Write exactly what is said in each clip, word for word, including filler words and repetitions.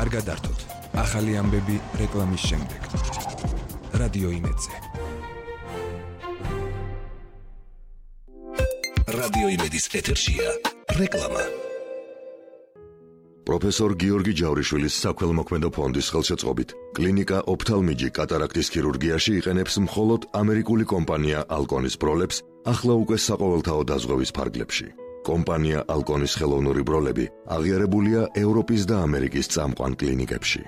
არ გადართოთ. ახალი ამბები რეკლამის შემდეგ. რადიო იმედზე. რადიო იმედის ეთერშია რეკლამა. პროფესორ გიორგი ჯავრიშვილის საქველმოქმედო ფონდის ხელშეწყობით კლინიკა ოფთალმიჯი კატარაქტის ქირურგიაში იყენებს მხოლოდ ამერიკული კომპანია ალკონის ბროლებს ახლა უკვე საყოველთაო დაზღვევის ფარგლებში. კომპანია ალკონის ხელოვნური ბროლები აღიარებულია ევროპის და ამერიკის წამყვან კლინიკებში.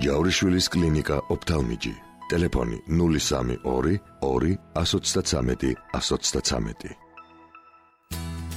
ჯავრიშვილის კლინიკა ოფთალმიჯი. ტელეფონი ნული სამი ორი ორი ათს ოცდათრამეტი ათს ოცდათრამეტი.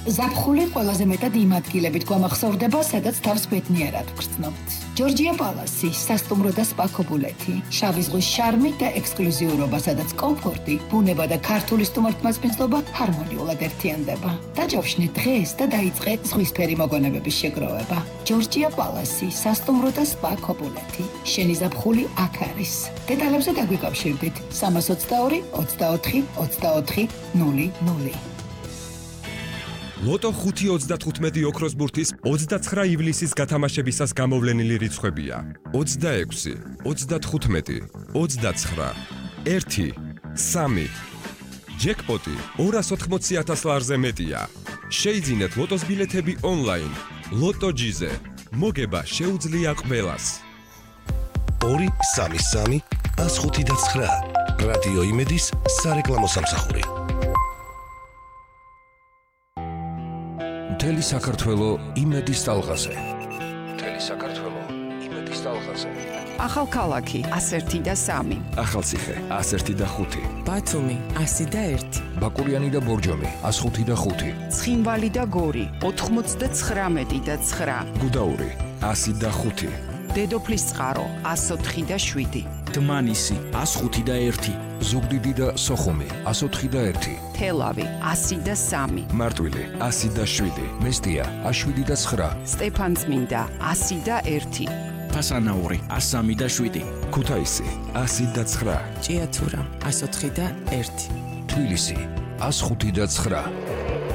ზაფხული ყველაზე მეტად იმ ადგილებით გვამახსოვრდება, სადაც თავს ბედნიერად ვგრძნობთ. ჯორჯია პალასი, სასტუმრო და სპა ქობულეთი, შავი ზღვის შარმი და ექსკლუზიურობა, სადაც კომფორტი, ბუნება და ქართული სტუმართმასპინძლობა ჰარმონიულად ერთიანდება. დაჯავშნე დღეს და დაიწყე ზღვისფერი მოგონებების შეგროვება. ჯორჯია პალასი, სასტუმრო და სპა ქობულეთი. შენი ზაფხული აქ არის. დეტალებზე დაგვიკავშირდით სამას ოცდაორი ოცდაოთხი ოცდაოთხი ნული ნული. ლოტო ხუთი ოცდათხუთმეტი ოქროს ბურთის ოცდაცხრა ივლისის გათამაშებისას გამოვლენილი რიცხვებია: ოცდაექვსი, ოცდათხუთმეტი, ოცდაცხრა, ერთი, სამი. ჯეკპოტი ორას ოთხმოცი ათას ლარზე მეტია. შეიძინეთ ლოტოს ბილეთები ონლაინ. ლოტო ჯიზე. მოგება შეუძლია ყველას. ორი სამი სამი ას ხუთი და ცხრა. რადიო იმედის სარეკლამო სამსახური. მთელი საქართველო იმედის ტალღაზე. მთელი საქართველო იმედის ტალღაზე. ახალქალაქი ას ერთი და სამი. ახალციხე ას ერთი და ხუთი. ბათუმი ასი და ერთი. ბაკურიანი და ბორჯომი ას ხუთი და ხუთი. ცხინვალი და გორი ოთხმოცდაცხრამეტი და ცხრა. გუდაური ასი და ხუთი. დედოფლის წყარო ას ოთხი და შვიდი. დმანისი ას ხუთი და ერთი. ზუგდიდი და სოხუმი ას ოთხი და ერთი. თელავი ასი და სამი. მარტვილი ასი და შვიდი. მესტია ას შვიდი და ცხრა. სტეფანწმინდა ასი და ერთი. ფასანაური ას სამი და შვიდი. ქუთაისი ასი და ცხრა. ჭიათურა ას ოთხი და ერთი. თბილისი ას ხუთი და ცხრა.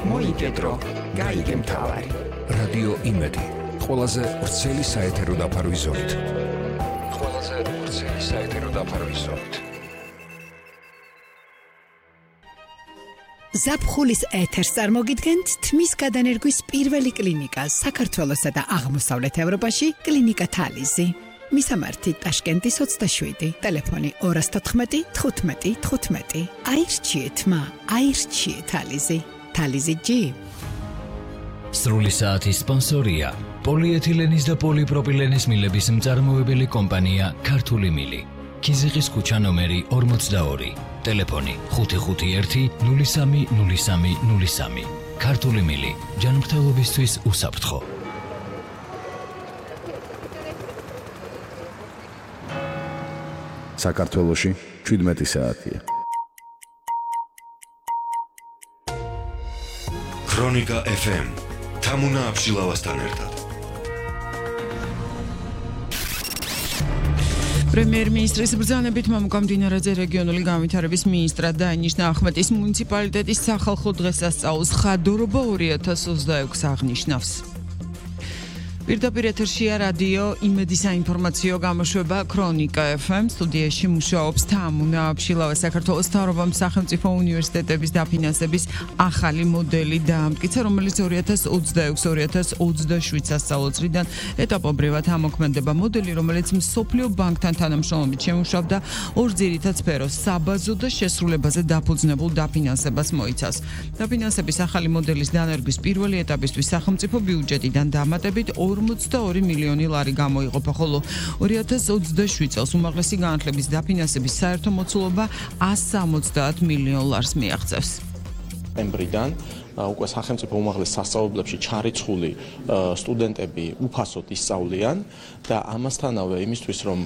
მოიგედრო გაიგე მთავარი. რადიო იმედი ყველაზე ვრცელი საეთერო დაფარვის ზოლით. ყველაზე ვრცელი საეთერო დაფარვის ზოლით. ზაფხულის ეთერს წარმოგიდგენთ თმის გადანერგვის პირველი კლინიკა საქართველოსა და აღმოსავლეთ ევროპაში კლინიკა თალიზი. მისამართი ტაშკენტის ოცდაშვიდი, ტელეფონი ორას თოთხმეტი თხუთმეტი თხუთმეტი. აირჩიეთ მა, აირჩიეთ თალიზი. თალიზი ჯი. სრული საათის სპონსორია პოლიეთილენის და პოლიპროპილენის მილების მწარმოებელი კომპანია ქართული მილი. ქიზიყის ქუჩა ნომერი ორმოცდაორი. ტელეფონი ხუთი ხუთი ერთი ნული სამი ნული სამი ნული სამი. ქართული მილი ჯანმრთელობისთვის უსაფრთხო. საქართველოში შვიდმეტი საათია. ქრონიკა ეფ ემ თამუნა აბშილავასთან ერთად. პრემიერ-მინისტრის ბრძანებით მამუკა მდინარეზე რეგიონული განვითარების მინისტრად დაინიშნა ახმეტის მუნიციპალიტეტის სახალხო დღესასწაულს ხადორობა ორი ათას ოცდაექვსი აღნიშნავს. პირდაპირ ეთერშია რადიო იმედის საინფორმაციო გამოშვება ქრონიკა ეფ ემ. სტუდიაში მუშაობს თამუნა აბშილავა. საქართველოს მთავრობამ სახელმწიფო უნივერსიტეტების დაფინანსების ახალი მოდელი დაამტკიცა, რომელიც ორი ათას ოცდაექვსი ორი ათას ოცდაშვიდ სასწავლო წლიდან ეტაპობრივად ამოქმედება. მოდელი, რომელიც მსოფლიო ბანკთან თანამშრომლობით შემუშავდა ორ ძირითად სფეროს, საბაზო და შესრულებაზე დაფუძნებულ დაფინანსებას მოიცავს. დაფინანსების ახალი მოდელის დანერგვის პირველი ეტაპისთვის სახელმწიფო ბიუჯეტიდან დამატებით ორმოცდაორი მილიონი ლარი გამოიყოფა, ხოლო ორი ათას ოცდაშვიდ წელს უმაღლესი განათლების დაფინანსების საერთო მოცულობა ას სამოცდაათ მილიონ ლარს მიაღწევს. სექტემბრიდან უკვე სახელმწიფო უმაღლეს სასწავლებლებში ჩარიცხული სტუდენტები უფასოდ ისწავლიან და ამასთანავე იმისთვის, რომ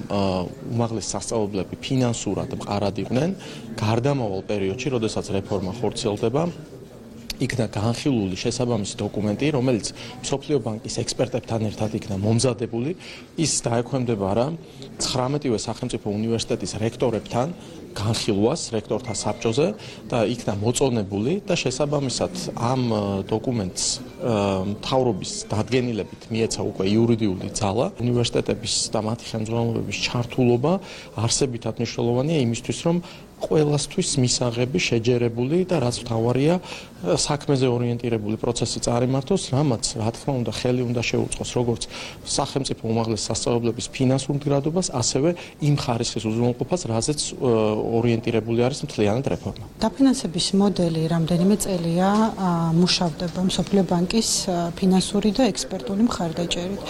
უმაღლეს სასწავლებლები ფინანსურად მყარად იყვნენ, გარდამავალ პერიოდში, როდესაც რეფორმა ხორციელდება, იქნა განხილული შესაბამისი დოკუმენტი, რომელიც მსოფლიო ბანკის ექსპერტებთან ერთად იქნა მომზადებული. ის დაექვემდება რა ცხრამეტივე სახელმწიფო უნივერსიტეტის რექტორებთან განხილვას რექტორთა საბჭოზე და იქნა მოწონებული და შესაბამისად ამ დოკუმენტს მთავრობის დადგენილებით მიეცა უკვე იურიდიული ძალა. უნივერსიტეტების და მათი ხელმძღვანელობების ჩართულობა არსებითად მნიშვნელოვანია იმისთვის, რომ ყველასთვის მისაღები შეჯერებული და რაც მთავარია საქმეზე ორიენტირებული პროცესი წარიმართოს, რამაც რა თქმა უნდა ხელი უნდა შეუწყოს როგორც სახელმწიფო უმაღლეს სასწავლებლების ფინანსურ მდგრადობას, ასევე იმ ხარისხის უზრუნველყოფას, რაზეც ორიენტირებული არის მთლიანად რეფორმა. დაფინანსების მოდელი რამდენიმე წელია მუშავდება მსოფლიო ბანკის ფინანსური და ექსპერტული მხარდაჭერით.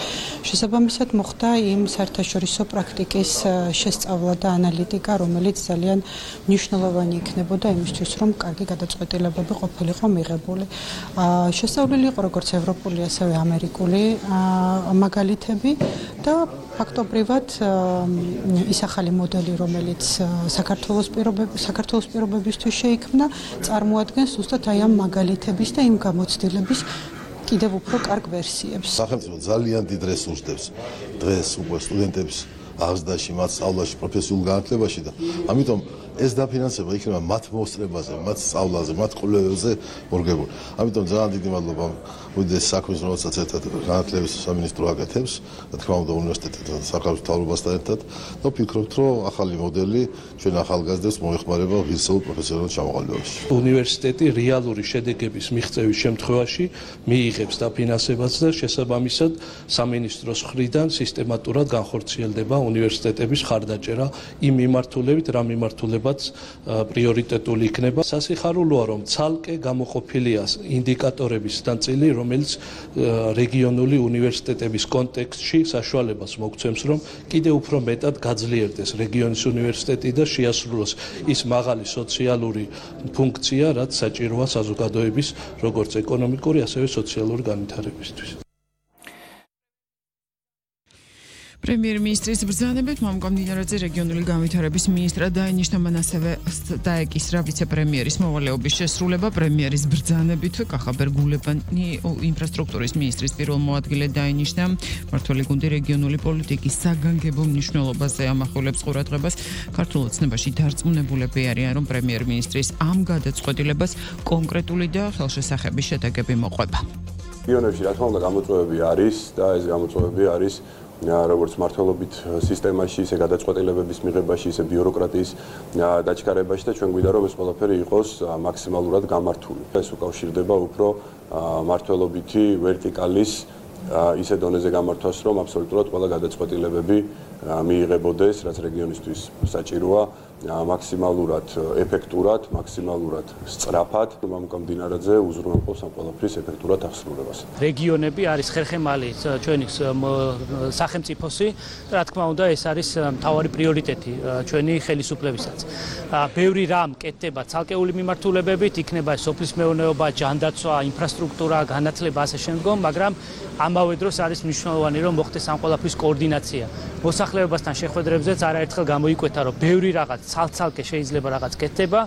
შესაბამისად მოხდა იმ საერთაშორისო პრაქტიკის შესწავლა და ანალიტიკა, რომელიც ძალიან მნიშვნელოვანი იქნებოდა იმისთვის, რომ კარგი გადაწყვეტილებები ყოფილიყო მიღებული. შესწავლილი იყო როგორც ევროპული, ასევე ამერიკული მაგალითები და ფაქტობრივად ის ახალი მოდელი, რომელიც საქართველოს პირობების საქართველოს პირობებისთვის შეიქმნა, წარმოადგენს ზუსტად აი ამ მაგალითების და იმ გამოცდილების კიდევ უფრო კარგ ვერსიებს. სახელმწიფო ძალიან დიდ რესურსს დებს დღეს უკვე სტუდენტებს აღზრდაში, მათ სწავლაში, პროფესიულ განათლებაში და ამიტომ ეს დაფინანსება იქნება მათ მოსწრებაზე, მათ სწავლაზე, მათ კვლევებზე მორგებული. ამიტომ ძალიან დიდი მადლობა უდიდეს საქმის, რომელსაც ერთად განათლების სამინისტრო აკეთებს, რა თქმა უნდა უნივერსიტეტთან, საქართველოს მთავრობასთან ერთად და ვფიქრობთ, რომ ახალი მოდელი ჩვენ ახალგაზრდებს მოეხმარება ღირსეულ პროფესიონალურ ჩამოყალიბებაში. უნივერსიტეტი რეალური შედეგების მიღწევის შემთხვევაში მიიღებს დაფინანსებას და შესაბამისად სამინისტროს მხრიდან სისტემატურად განხორციელდება უნივერსიტეტების ხარდაჭერა იმ მიმართულებით, რა მიმართულებაც პრიორიტეტული იქნება. სასიხარულოა, რომ ცალკე გამოყოფილია ინდიკატორების ნაწილი, რომელიც რეგიონული უნივერსიტეტების კონტექსტში საშუალებას მოგცემს, რომ კიდევ უფრო მეტად გაძლიერდეს რეგიონის უნივერსიტეტი და შეასრულოს ის მაღალი სოციალური ფუნქცია, რაც საჭიროა საზოგადოების როგორც ეკონომიკური, ასევე სოციალური განვითარებისთვის. პრემიერ-მინისტრის ბრძანებით მამუკამ დინარაძე რეგიონული განვითარების მინისტრად დაინიშნა, მან ასევე დაეკისრა ვიცე-პრემიერის მოვალეობის შესრულება. პრემიერის ბრძანებით კახაბერ გულებანი ინფრასტრუქტურის მინისტრის პირველ მოადგილედ დაინიშნა. მმართველი გუნდი რეგიონული პოლიტიკის საგანგებო მნიშვნელობაზე ამახვილებს ყურადღებას. ქართულ ოცნებაში დარწმუნებულები არიან, რომ პრემიერ-მინისტრის ამ გადაწყვეტილებას კონკრეტული და ხელშესახები შედეგები მოყვება. რეგიონებში რა თქმა უნდა გამოწვევები არის და ეს გამოწვევები არის როგორც მართლობით სისტემაში, ისე გადაწყვეტილებების მიღებაში, ისე ბიუროკრატიის დაჩქარებაში და ჩვენ გვინდა რომ ეს ყველაფერი იყოს მაქსიმალურად გამართული. ეს უკავშირდება უფრო მართლობითი ვერტიკალის ისე დონეზე გამართვას, რომ აბსოლუტურად ყველა გადაწყვეტილებები მიიღებოდეს, რაც რეგიონისთვის საჭიროა, მაქსიმალურად ეფექტურად, მაქსიმალურად სწრაფად. მამუკამ დინარაძე უზრუნველყოფს ამ ყველაფრის ეფექტურად აღსრულებას. რეგიონები არის ხერხემალი ჩვენი სახელმწიფოსი, რა თქმა უნდა, ეს არის მთავარი პრიორიტეტი ჩვენი ხელისუფლებისაც. ბევრი რამ კეთდება ცალკეული მიმართულებებით, იქნება სოფლის მეურნეობა, ჯანდაცვა, ინფრასტრუქტურა, განათლება ასე შემდგომ, მაგრამ ამავე დროს არის მნიშვნელოვანი, რომ მოხდეს ამ ყველაფრის კოორდინაცია. მოსახლეობასთან შეხვედრებზეც არაერთხელ გამოიკვეთა, რომ ბევრი რაღაც ცალ-ცალკე შეიძლება რაღაც კეთდება.